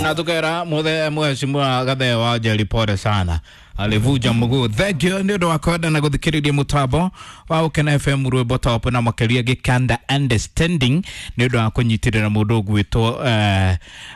Na tukera muthe mheshimiwa Gathee wa Njeri, pole sana, alivuja mguu. Thank you nĩ ũndũ wa kwenda na gũthikĩrĩria mũtambo wa Ũkena FM rwĩmbo top na makĩria gĩkanda understanding nĩ ũndũ wa kũnyitĩrĩra mũndũ ũgwĩtwo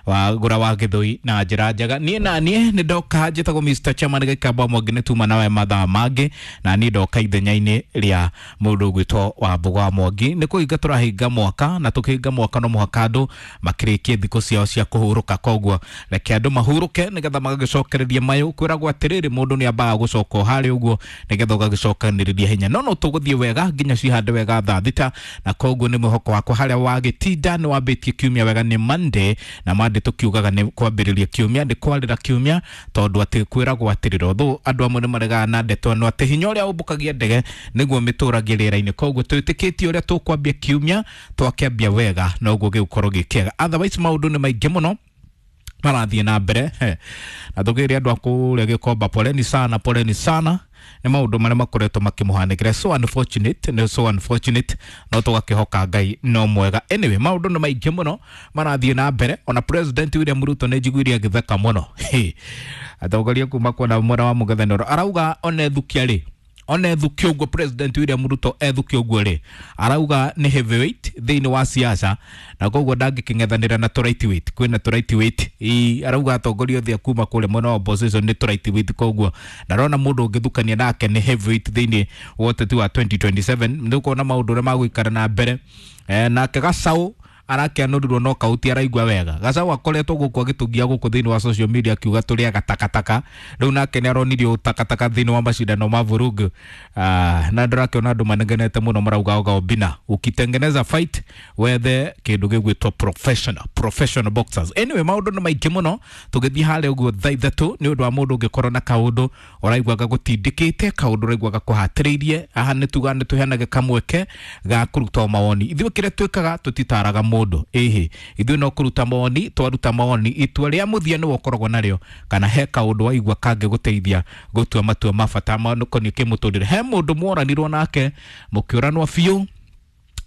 wa gũra wa gĩthũi na njĩra njega. Niĩ na niĩ nĩ ndoka njĩtagwo Mr. Chairman Gĩkamba Mwangi, nĩ tuma nawe mathaa mangĩ, na niĩ ndoka ithenya-inĩ rĩa mũndũ ũgwĩtwo wa Mbũgũ wa Mwangi. Nĩ kũhinga tũrahinga mwaka, na tũkĩhinga mwaka no mũhaka andũ makĩrĩkie thikũ ciao cia kũhurũka. Koguo reke andũ mahurũke nĩgetha magagĩcokereria mayũ. Kwĩragwo atĩrĩrĩ, mũndũ nĩ ambaga gũcoka o harĩa ũguo nĩgetha ũgagĩcokanĩrĩria hinya, no no tũgũthiĩ wega nginya cihande wega thaa 6. Na koguo nĩ mwĩhoko wakwa harĩa wagĩtinda nĩ wambĩtie kiumia wega. Nĩ Monday, na Monday tũkiugaga nĩ kwambĩrĩria kiumia, nĩ kwarĩra kiumia, tondũ atĩ kwĩragwo atĩrĩrĩ, although andũ amwe nĩ maregaga na ndeto ĩno atĩ hinya ũrĩa ũmbũkagia ndege nĩguo mĩtũragia rĩera-inĩ. Koguo twĩtĩkĩtie ũrĩa tũkwambia kiumia, twakĩambia wega noguo gĩgũkorwo gĩ kĩega. Otherwise maũndũ nĩ maingĩ mũno marathiĩ na mbere. He, na tũkĩrĩ andũ a kũrĩa Gĩkomba, poleni sana, poleni sana nĩ maũndũ marĩa makoretwo makĩmũhanĩkĩra. So unfortunate, nĩ so unfortunate, no tũgakĩhoka Ngai no mwega. Anyway, maũndũ nĩ maingĩ mũno marathiĩ na mbere. Ona President William Ruto nĩ njiguire agĩtheka mũno. He, atongoria kuma kuona mwena wa mũng'ethanĩro arauga ona ethukia rĩ, ona ethukia ũguo, President William Ruto ethukia ũguo rĩ, arauga nĩ heavyweight thĩinĩ wa siasa, na koguo ndangĩkĩng'ethanĩra na tũ lightweight. Kwĩna tũ lightweight. Ĩ, arauga atongoria othe a kuma kũrĩa mwena wa opposition nĩ tũ lightweight, koguo ndarona mũndũ ũngĩthukania nake nĩ heavyweight thĩinĩ wa ũteti wa 2027. Nĩ ũkuona maũndũ ũrĩa magũikara na mbere. Nake Gacau arakĩanũrirwo no kauti araigua wega. Gacau akoretwo gũkũ agĩtũgia gũkũ thĩinĩ wa social media akiuga tũrĩaga takataka. Rĩu nake nĩ aronirio takataka thĩinĩ wa macindano ma vurugu. Na ndĩrakĩona andũ manegenete mũno, marauga oga Obina ukitengeneza fight wethe kĩndũ gĩgwĩtwo professional boxers. Anyway, maũndũ nĩ maingĩ mũno. Tũgĩthiĩ harĩa ũguo thaa 3 nĩ ũndũ wa mũndũ ũngĩkorwo na kaũndũ ũraigua gagũtindĩkĩte, kaũndũ ũraigua gakũhatĩrĩirie, haha nĩ tuga nĩ tũheanage kamweke ga kũruta mawoni. Ithuĩ kĩrĩa twĩkaga, tũtitaraga mũndũ. Ĩhĩ, ithuĩ no kũruta mawoni. Twaruta mawoni, itua rĩa mũthia nĩwe ũkoragwo narĩo. Kana he kaũndũ waigua kangĩgũteithia gũtua matua ma bata makoniĩ kĩmũtũrĩre, he mũndũ mworanirwo nake mũkĩũranwo biũ,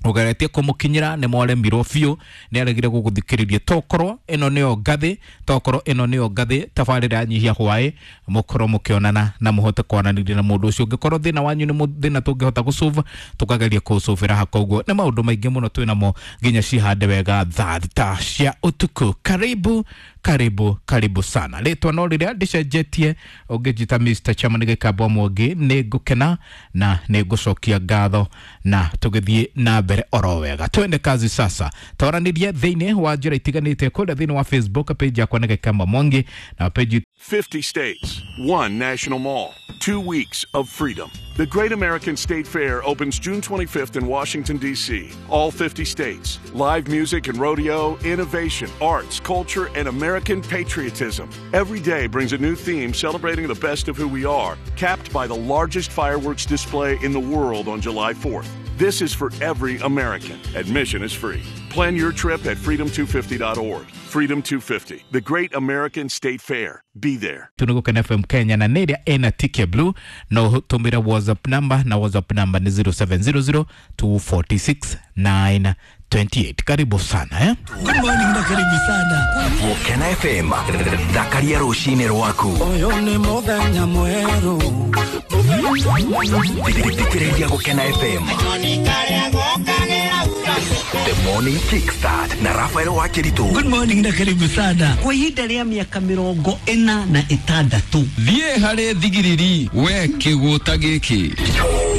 ũgeretie kũmũkinyĩra nĩ mwaremirwo biũ, nĩ aregire gũgũthikĩrĩria, tokorwo ĩno nĩyo ngathĩ, tokorwo ĩno nĩyo ngathĩ tabarĩra ya Nyihia Hwaĩ, mũkorwo mũkĩonana na mũhote kwaranĩria na mũndũ ũcio. Ũngĩkorwo thĩna wanyu nĩ thĩna tũngĩhota gũsolve, tũkageria kũũsolvĩra haha. Koguo nĩ maũndũ maingĩ mũno twĩnamo nginya cihande wega thaa 6 cia ũtukũ. Karibu, karibu, karibu sana. Rĩtwa no rĩrĩa ndĩcenjetie, ũngĩnjĩta Mr. Chairman Gĩkamba Mwangi nĩ ngũkena na nĩ ngũcokia ngatho, na tũgĩthiĩ na mbere oro wega. Twende kazi sasa, twaranĩrie thĩinĩ wa njĩra itiganĩte kũrĩa thĩinĩ wa Facebook page yakwa nĩ Gĩkamba Mwangi na page 50 states, one national mall, 2 weeks of freedom. The Great American State Fair opens June 25th in Washington, D.C. All 50 states, live music and rodeo, innovation, arts, culture, and American patriotism. Every day brings a new theme celebrating the best of who we are, capped by the largest fireworks display in the world on July 4th. This is for every American. Admission is free. Plan your trip at freedom250.org. Freedom 250, the Great American State Fair. Be there. Tũ nĩ Gũkena FM Kenya, na nĩ ĩrĩa ĩna tick ya blue no tũmĩre WhatsApp number, na WhatsApp number nĩ 0700 246 928. Karibu sana, eh? Good morning na karibu sana. Gũkena FM, thakaria rũcinĩ rwaku. Ũyũ nĩ mũthenya mwerũ. Thikĩrĩria Gũkena FM The Morning Kickstart na Rafael Wakĩritũ. Good morning na karibu sana. Kwa ihinda rĩa mĩaka 46. Thiĩ harĩ thigiriri we kĩgũta gĩkĩ.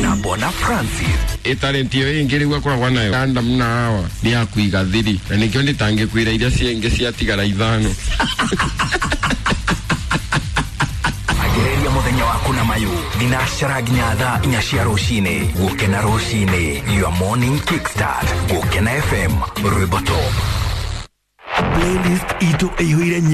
Na Bona Francis. Ĩtarĩnti ĩyo ĩngĩ rĩu akoragwo nayo Adamu na Hawa nĩ ya kũiga thiri, na nĩkĩo ndĩtangĩkwĩra iria ciengĩ ciatigara ithano. Ambĩrĩria mũthenya waku na mayũ thinacara nginya thaa 4 cia rũcinĩ. Gũkena rũcinĩ, your morning kickstart. Gũkena FM, rwĩmbo top. Playlist itũ ĩihũire.